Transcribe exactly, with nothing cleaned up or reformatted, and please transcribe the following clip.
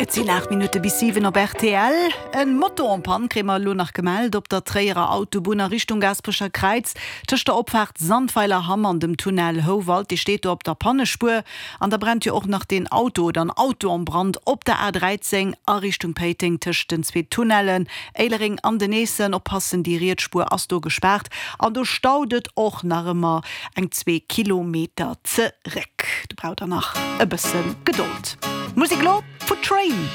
Et sinn aacht Minutte bis siwen op rtl. En Moto en panne kréie mer elo nach gemellt op der Tréierer Autobunn a Richtung Gaasperecher Kräiz tëscht der Opfaart Sandweiler-Hamm an dem Tunnel Houwald. Dee steet do op der Pannespuer. An da brennt jo och nach den Auto oder en Auto en Brand op der A dräizéng a Richtung Péiteng tëscht den zwee Tunnellen Éilereng an den Eessen. Oppassen, déi riets Spuer ass do gespaart an do staut et och nach ëmmer eng zwee Kilometer zeréck. Do braucht der nach e bësse Gedold. Musek elo vu Train.